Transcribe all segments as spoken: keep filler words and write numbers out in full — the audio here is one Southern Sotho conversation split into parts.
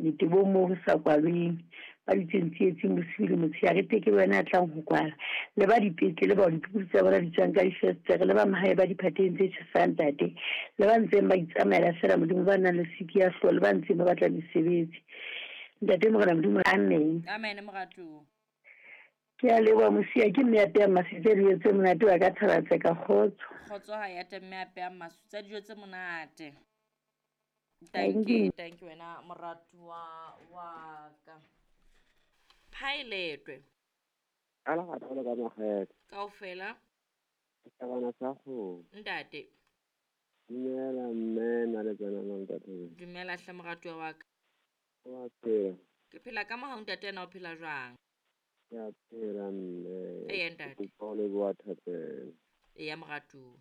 Metebong moo ho sa kwalweng, ba dutseng tsietsing bosiu le motshehare, teke wena ya tlang ho kwala. Le ba dipetlele bao diphupu tsa bona di tswang ka difestere, le ba mahae ba diphateng tse tjhesang ntate, le ba ntseng ba itsamaela feela Modimo, ba nang le siki ya hlooho, le ba ntseng ba batla mesebetsi. Ntate Morena Modimo, amen. Amen moratuwa. Ke a leboha Mosia, ke mme ya pehang masutsa dijo tse monate wa ka thaba tseka kgotso. Kgotso ha ya teng mme a pehang masutsa dijo tse monate. Thank you, thank you wena moratuwa wa ka. Phaeletwe. Ka lerato le ka makgethe. Kaofela. Setjhabana sa kgomo. Ntate. Dumela mme na le tsena na ntate. Dumela hle moratuwa wa ka. Wa phela. Ke phela ka mohau ntate, ena o phela jwang? Ke a phela mme. Eya ntate. Ke kopa ho leboha thapelo. Eya moratuwa.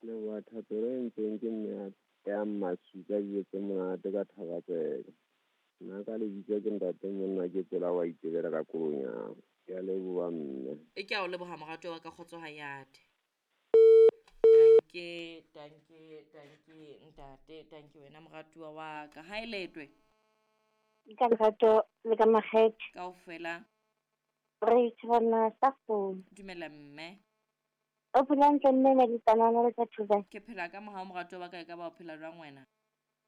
Leboha thapelo e entsweng ke mme ya pehang masutsa dijo tse monate ka thaba tseka. Nna ka lebitso ke ntate monna ke tsela wa itebela ka kolonyana. Ke a leboha mme. E ke a o leboha moratuwa wa ka, kgotso ha yate. Danke, danke, danke ntate, danke wena moratuwa wa ka. Ha e letwe. Ka lerato le ka makgethe. Kaofela. Re tshwana sa kgomo. Dumela mme. O phela hantle mme na dipanana le tsa thuba? Ke phela ka mohau moratuwa wa ka, e ka ba o phela jwang wena?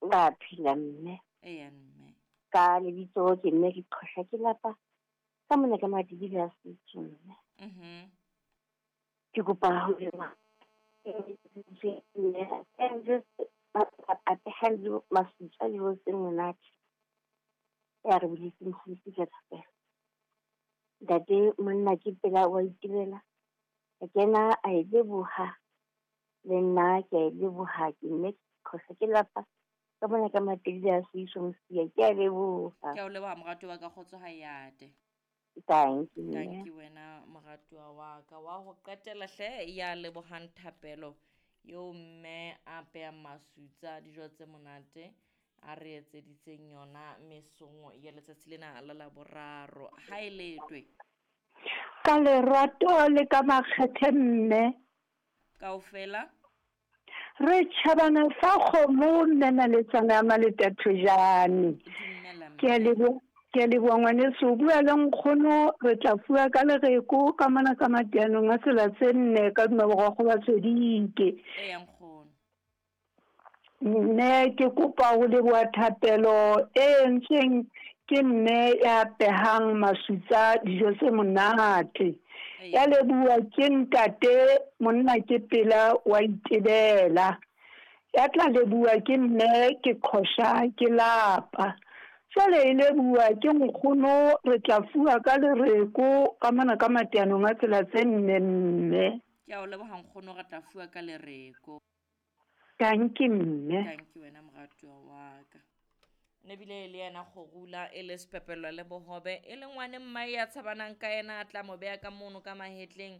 Ba phela mme. Eya mme. Ka lebitso ke mme ke qhosha ke lapa. Ka mona ka madibile a setso mme. Mhm. Ke kopa ho lema. And just a pehang masutsa dijo tse monate. Ya re boletse mokgotsi ka thapelo. Ntate monna ke pela wa itebela. A kena a e leboha. Le nna ke a e leboha, ke mme qhosha ke lapa. Ka mona ka matedile a seiso Mosia, ke a leboha. Ke a o leboha moratuwa wa ka, kgotso ha yate. Thank you. Thank you wena moratuwa wa ka. Wa ho qetela hle ya lebohang thapelo eo mme a pehang masutsa dijo tse monate a re etseditseng yona mesong ya letsatsi lena la Laboraro. Ha e letwe. Ka lerato le ka makgethe mme. Kaofela. Re tjhabana sa kgomo mme na le tsana ya Maletathojane. Dumela mme. Ke a leboha. Ke a leboha ngwaneso, o bua le nkgono, re tla fuwa ka lereko ka mona ka mateanong a tsela tse nne ka duma borokgo ba Tswedike. Eya nkgono. Mme ke kopa ho leboha thapelo e entsweng ke mme ya pehang masutsa dijo tse monate. Ya leboha ke ntate monna ke pela wa itebela. Ya tla leboha ke mme ke qhosha ke lapa. Jwale e leboha ke nkgono, re tla fuwa ka lereko ka mona ka mateanong a tsela tse nne mme. Ke a o leboha nkgono, re tla fuwa ka lereko. Thank you mme. Thank you wena moratuwa wa ka. Ne bile le yena kgorula e le sepepelo le bohobe e le ngwane mmae ya tshabanang ka yena, a tla mo beha ka mono ka mahetleng,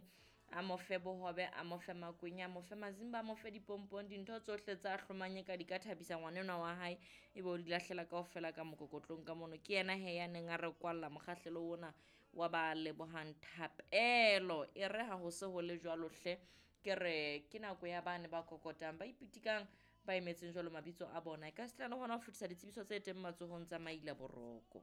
a mo fe bohobe, a mo fe makwenya, a mo fe mazimba, a mo fe dipompong, dintho tsohle tsa hlomanye ka di ka thabisa ngwanenwa wa hae, ebe o di lahlela kaofela ka mokokotlong ka mono. Ke yena he ya neng a re kwalla mokgahlelo ona wa ba lebohang thapelo. E re ha ho se ho le jwalo hle, ke re ke nako ya bane ba kokotang, ba ipitikang, ba emetseng jwalo mabitso a bona. E ka se tla le hona ho fetisa ditsebiso tse teng matsohong tsa Maila Boroko.